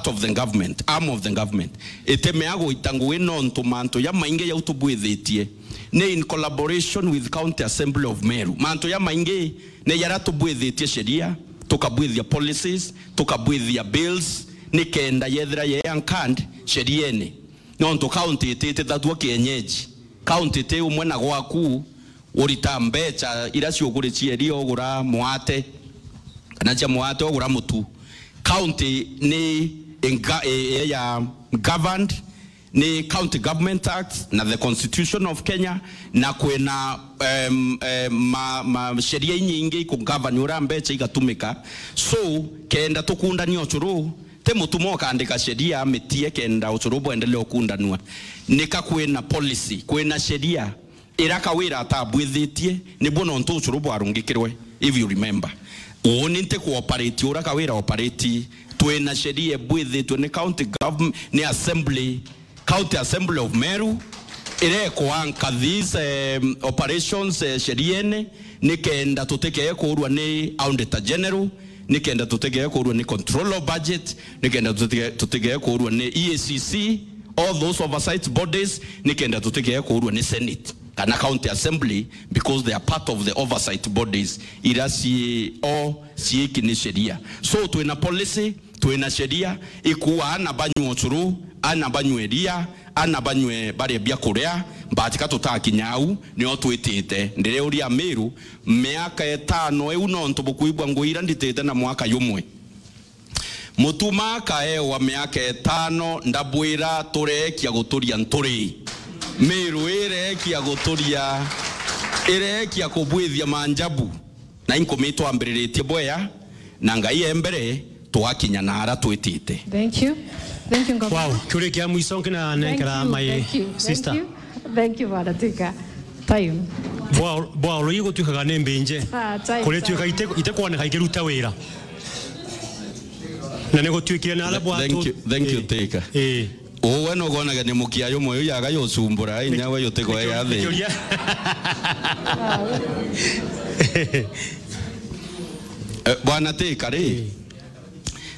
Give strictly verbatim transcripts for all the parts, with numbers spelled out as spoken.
of the government, arm of the government, itemea guita ngugi nontu mantu jamaingi jau tubwithitie ni in collaboration with County Assembly of Meru. Mantu jamaingi ni jaria tubwithitie sheria, tukabwithia policies, tukabwithia bills, nikenda yethira ye anchored sheriene. Nontu county ititithatua kienyeji. County ti umwe na gwaku, urita mbecha iria ciukuri cieria ugura mwate, kana cia mwate ugura mutu. County ni inga-, i-, i-, ya governed ni County Government Act na the Constitution of Kenya, na kwina, em, em, ma, ma sheria inyingi ikugovern uria mbecha igatumika. So, kenda tukundania ucuru, ti mutuma ukandika sheria amitie kenda ucuru bwendelee ukundanua. Nika kwina policy, kwina sheria ira Kawira atabwithitie, nibwo nontu ucuru bwarungikirwe, if you remember. Uuni nti kuoperate uria Kawira operate, twina sheria ibwithitwe ni county government, ni assembly, County Assembly of Meru, irekwanka these, um, operations, eh, sheriene, nikenda tutikee kuurwa ni Auditor General, nikenda tutikee kuurwa ni Control of Budget, nikenda tutige-, tutikee kuurwa ni E A C C, all those oversight bodies, nikenda tutikee kuurwa ni Senate kana County Assembly, because they are part of the oversight bodies iria cii o ciiki ni sheria. So, twina policy, twina sheria ikuuga ana banywe ucuru, ana banywe iria, ana banywe barie biakuria, but ka tutakinya au, nio twitite. Ndiriuria Amiru, miaka itano iu nontu bukuigua ngugi iria nditite na mwaka jumwe. Mutuma akaewa miaka itano, ndabwira tureekia guturia nturi. Miru ireekia guturia, ireekia kubwithia manjabu. Na inkumii twambiriritie bwea, na Ngai e mbere, twakinya na ara twitite. Thank you. Thank you, Governor. Wow, kiuria kia mwiso nkina Thank nenkera you, my thank you, sister. Thank you. Thank you, Bwana Twiga. Time. Bwa, bwa oro igutwikaga ni mbinje. Ah, time, Kuritwika time. ite, ite kwoneka ikiruta wira. Na ni gutwikire na ala Th-, bwa thank tu-, you, thank you, eh, Twiga. Eh. Uwe nukonaga ni mukia jumwe uyu yaga yucumbura, inya we utiko ya thi. Kiuria. Eh, Bwana Twiga ri, eh,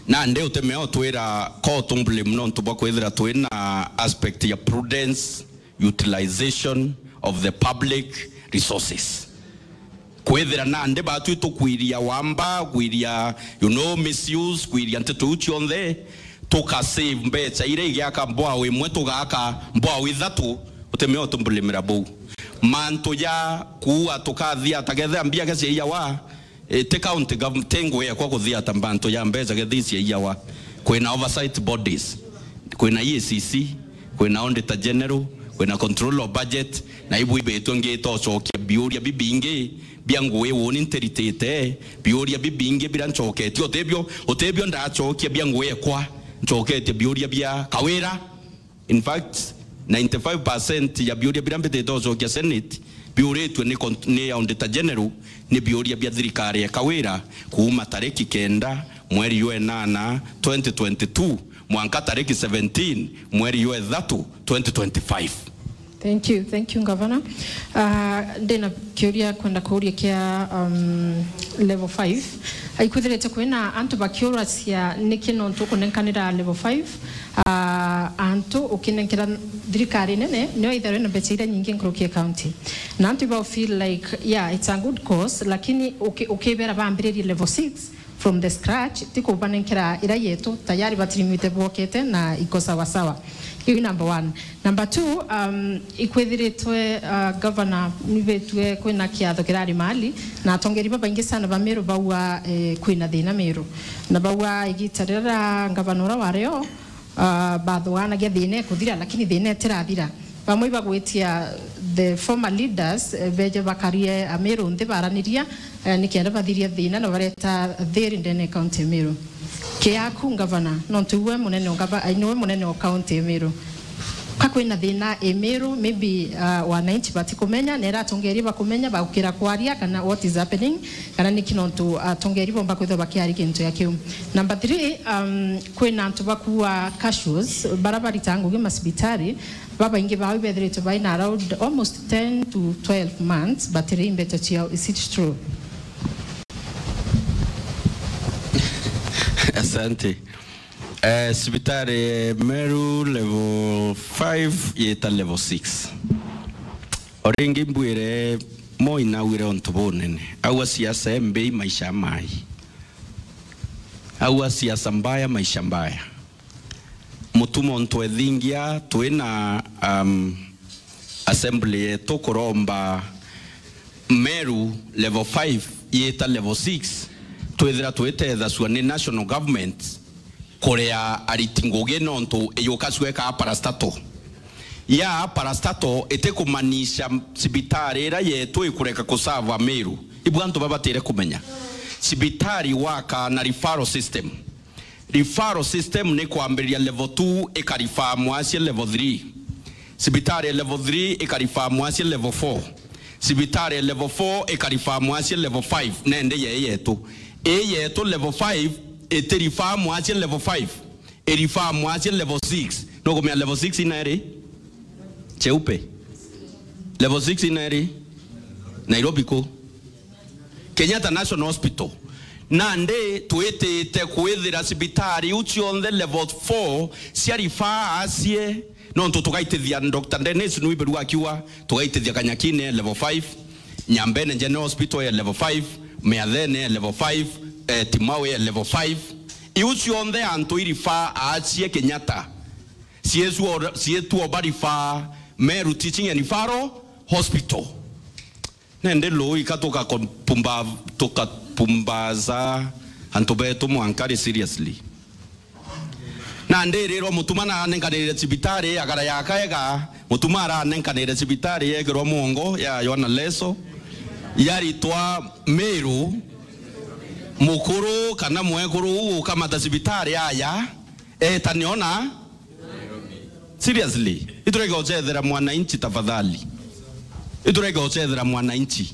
nandi utemea utwira ko tumbuli muno ntu bwa kwithira twina aspect ya prudence, utilization of the public resources. Kwithira nandi batu itukwiria wamba, kwiria, you know, misuse, kwiria nteto iu cionthe, tuka save mbecha iria igiaka mbwao imwe, tugaaka mbwao ithatu, utemea utumbulimira buu. Mantu ja kuua tukathia, ta kethira mbia ke ciaiyawa, e, ti county gov-, ti ngugi ekwa kuthia ta mantu ja mbecha kethira ciaiyawa. Kwina oversight bodies. Kwina E A C C, kwina Auditor General, kwina Control of Budget, na ibu ibitwe ngita ucokia biuria bibingi bia ngugi uuni ntiritite, biuria bibingi biria ncoketie, utibio, utibio ndacokia bia ngugi ekwa, ncoketie biuria bia Kawira. In fact, ninety-five percent ya biuria biria mbitite ucokia Senate, biuritue ni con-, ni Auditor General, ni biuria bia thirikari ya Kawira kuuma tariki kenda mweri jwa enana twenty twenty-two mwanka tariki seventeen mweri jwa ithatu twenty twenty-five. Thank you, thank you, Governor. Ah, ndina kiuria kwenda kuuria kia, um, level five. Aikwithirite kwina antu bakiuracia niki nontu ukunenkanira level five, ah, antu ukinenkera thirikari nene, nio itharwe na mbecha iria nyingi nkuruki ya county. Na antu ibao feel like, yeah, it's a good cause, lakini uki-, ukibera bambiririe level six from the scratch, ti kubanenkera ira yetu, tayari batirimite bwokete na iko sawa sawa. Hiyo ni number one. Number two, um, ikwithiritwe, uh, governor nibetue kwina kiatho kirari mali, na atongeri babaingi sana ba Meru baua, eh, kwina thina Meru. Na baua igita riria governor ura wario, uh, bathuanagia thina ikuthira, lakini thina itirathira. Bamwe ibagwitia the former leaders, eh, beje bakarie Ameru nthi baraniria, eh, nikenda bathirie thina na bareta thiri ndene ya county ya Meru. Kiaku ngavana, nontu iwe munene o ngava-, ai, niwe munene o county ya Meru. Ka kwina thina i Meru, maybe, uh, wananchi batikumenya, na ira atongeria bakumenya, bagukira kwaria kana what is happening, kana niki nontu atongeria bomba kwithwa bakiaria kintu ya kiu. Number three, um, kwina antu bakua cashews, bara barita ngugi masibitari, babaingi bao ibethiritwe baina around almost ten to twelve months, batiri mbeca ciao. Is it true? Asante. Eh, cibitari Meru level five yita level six. O ringi mbwire, Moi naugire untu bunene. Aua siasa mbi, maisha mai. Aua siasa mbaya, maisha mbaya. Mutuma untu ethingia, twina, um, assembly yetu kuromba Meru level five yita level six, twithira twitethacua ni national government kuria ariti ngugi nontu iyuka cweka parastatal. Ya parastatal itikumaanisha cibitari iria yetu ikureka kusava Meru. Ibu antu babatire kumenya. Cibitari waka na referral system. Referral system ni kwambiriria level two ikarifaa mwasie level three. Cibitari ya level three ikarifaa mwasie level four. Cibitari ya level four ikarifaa mwasie level five. Nende ye yetu. Ii yetu level five itirifaa mwasie level five. Irifaa mwasie level six. Nukumenya level six ina iri? Cheupe. Level six ina iri? Nairobi ku? Kenyatta National Hospital. Nandi twitite kwithira cibitari iu cionthe level four cia rifaa asie, nontu tugaitithia Doctor Dennis Nwiberu akiuga, tugaitithia Kanyakine level five, Nyambene General Hospital ya level five, Miathene ya level five, eh, Timau ya level five. Iu cionthe antu irifaa asie Kenyatta. Cietu o-, cietu oba rifaa Meru Teaching and Referral Hospital. Nende luu ika tukakupumba-, tukapumbaza antu betu mwankari seriously. Nandi irirwa Mutuma nanenkanire cibitari agara yakaega, Mutuma aranenkanire cibitari yekirwa mwongo ya Yohana Leso, yaritwa Meru, mukuru kana mwekuru uu ukamata cibitari aya, etane ona. Seriously, iturege gucethera mwananchi tafadhali. Iturege gucethera mwananchi.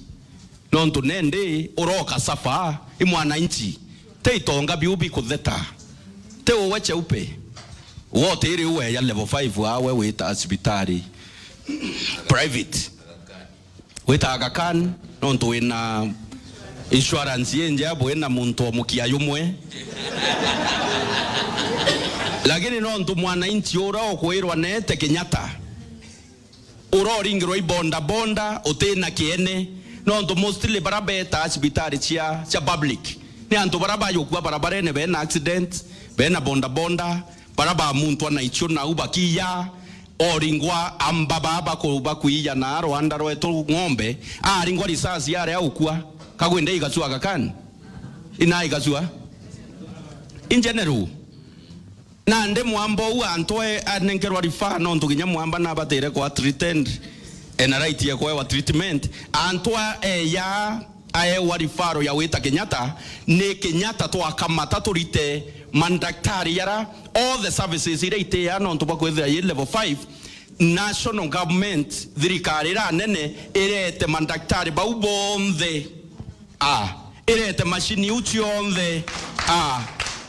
Nontu nende uroka safa i mwananchi. Te itonga biu bikutheta. Te uwe cheupe. Wote iri uwe ya level five awe wita cibitari private. Wita Aga Khan, nontu wina insurance injea bwina muntu o mukia yumwe. Lakini nontu mwananchi ura ukwirwa nete Kenyatta, ura uringirwa i boda boda, utina kiene, nontu mostly bara beta cibitari cia, cia public ni antu bara bayukua barabarene, bena accident, bena boda boda, bara ba muntu ana icio nau bakiya, oringwa amba baa baku-, bakuiya na rwanda rwetu ng'ombe, aringwa risasi aria ukua, kagwende igacua Aga Khan? Ina igacua? In general. Nandi mwamba uu antu e-, anenkerwa rifaa nontu kinya mwamba nabatire kwa treated, ena right ya kwewa treatment. Antu a-, eya aewa rifaro ya wita Kenyatta, ni Kenyatta twakamata turite mandaktari yara, all the services iria itia nontu bwa kwithira yi level five, national government, thirikari ira nene, irete mandaktari bau bonthe. A, irete mashini iu cionthe. A,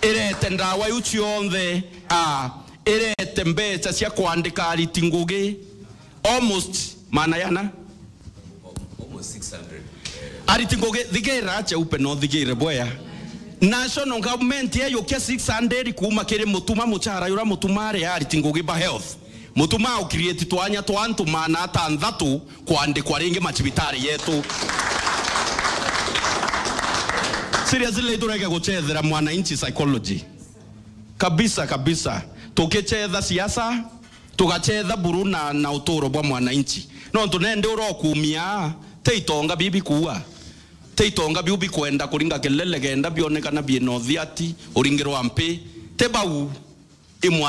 irete ndawa iu cionthe. A, irete mbeca cia kwandika ariti ngugi. Almost maana yana. Almost six hundred. Ariti ngugi, thigira acha upe no thigire bwea. National government yeyukia six hundred kuuma kiri Mutuma, muchara yura Mutuma ari ariti ngugi ba health. Mutuma au create twanya twa antu maana atanthatu kwandikwa ringi macibitari yetu. Seriously, iturege guchethera mwananchi psychology. Kabisa, kabisa. Tukichetha siasa, tugachetha buru na, na uturo bwa mwananchi. Nontu nende urokumia, te itonga bibi kuua. Te itonga biu bikwenda kuringa kelele kenda bionekana biena uthiati, uringirwa mpi. Te bau, imwa